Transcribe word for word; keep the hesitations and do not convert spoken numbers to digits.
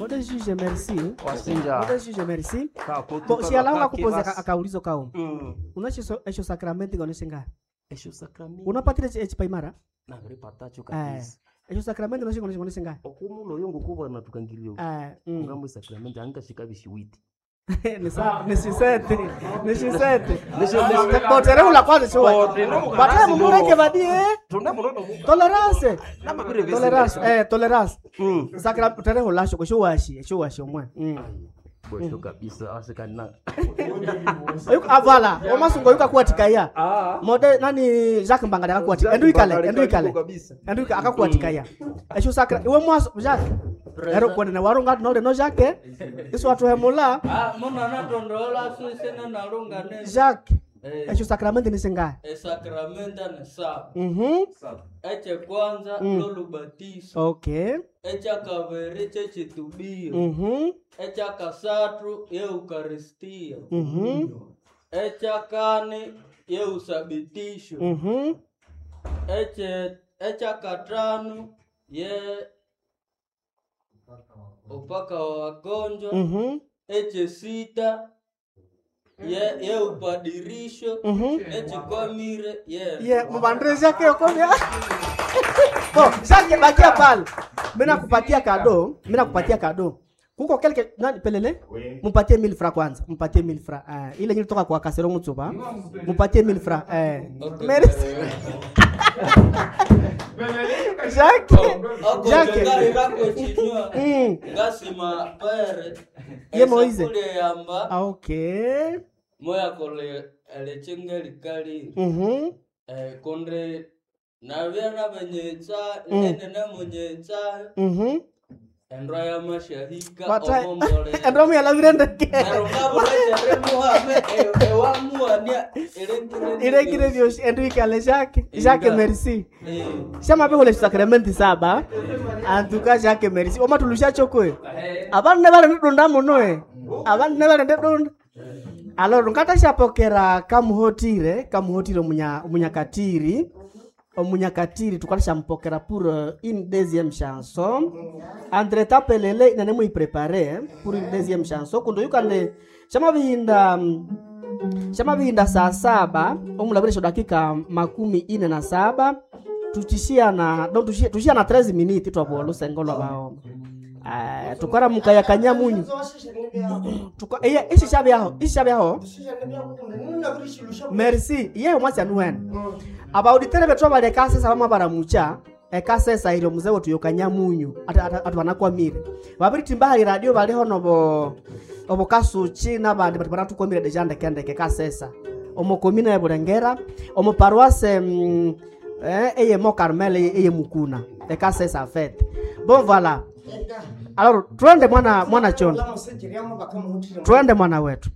Mode juge merci. Wasinja. Mode juge merci. Kako Bo siala ungakupoza basi. akaulizo kauma. Mm. Unacho esho sacramento ngoneshenga. Esho sacramento. Unapatire echipaimara? Nabiripatacho Eh. kabisa. Esho sacramento unacho ngoneshenga. Okumulo yo ngokubona tukangilio. Eh. Mm. Ngamwe sacramento angashikabishiwiti. Ni sa ni sisete. Ni sisete. Nisho- Botere ula kwanza sio. Botere ula Bataye mumureke badie. Tolerance. Namabire vese. Tolerance. Eh, tolerance. Mm. Sacramento tere ulasho kusho washi, sho washi omwe. Mm. Bwesho kabisa asikana. Oyuka avala, omasungo yuka kuwatikaya. Mode nani Jacques Mbangala akakuwatika. Endu ikale, endu ikale. Endu ikale akakuwatikaya. Esho sakra iwe mwaso Jacques. Ero kwene na warunga nole no Jacques. Iso watuhemula Ah, muna natondola sisene nalunga ne Jacques. Eh. Esho sacramento ni singa. esakramenta ni saba Mhm. ekyekwanza Mm. lolubatiso Okay. ekyakabiri kyekitubio Mhm. ekyakasathu yeukaristia Mhm. ekyakani yeusabitisho Mhm. Ekye- ekyakatano ye upaka wa wagonjwa Mhm. ekyesita ye yeupadirisho Mhm. nekikwamire ye Ye, mubandre Jacques okomia. Bon, Jacques bakia pale. Mimi nakupatia kado, mimi nakupatia kado. Kuko quelque nani pelele? Mupatie mille francs kwanza, mupatie mille francs. Eh, ile nilitoka kwa Kasero Mutsuba. Mupatie mille francs. Eh. Okay. Merci. Jacques. Jacques. okonjongairako chinywa Mm. ngasima pere Ye Moise. esakule yamba Ah, okay. moyakola elichinga likali Mhm. eh, kundi nabya nabenyetsa Mm. enene munyetsa Mhm. endwa yamashahika Bata. omombole Endromu yalavire ndeke. neryo ngabulekere muhame e- ewamuwania ilengire Ile vyoshi endu ikale Jacques. Jacques Inga. merci. Eh. Shama pe sacramento saba. En tout cas Jacques merci. Oma tulusha chokwe. Abandu ne bali ndunda muno eh. Abandu ne bali ndunda. Alors ngata kamuhotire, kamuhotire omunya omunyakatiri. Omunyakatiri tukalishampokera pour euh, une deuxième chanson. Entre tapelele nane muiprepare pour une deuxième chanson kundo yukande shama bihinda mm, shama bihinda saa saba omulabirisho dakika makumi ine na saba tuchishia na no, tushia, tushia na treze minutes twabwa lusengo lwa baoma uh, tukora mukaya kanyamunyu tuka iya ishi shabyaho ishi shabyaho merci iye omwasi anuwene abauditere bethu abali ekasesa bamwe baramucha ekasesa iri omuze wetu yokanyamunyu atu banakwamire babiritimba hali radio baliho nobo obokasuchi nabandi bati banatukwamire deja ndekendeke kasesa omo komina ya Bulengera omo paroisse mm, eh, eye mo Carmel eye eye Mukuna ekasesa fete bon voilà alors twende mwana mwana chondo twende mwana wetu.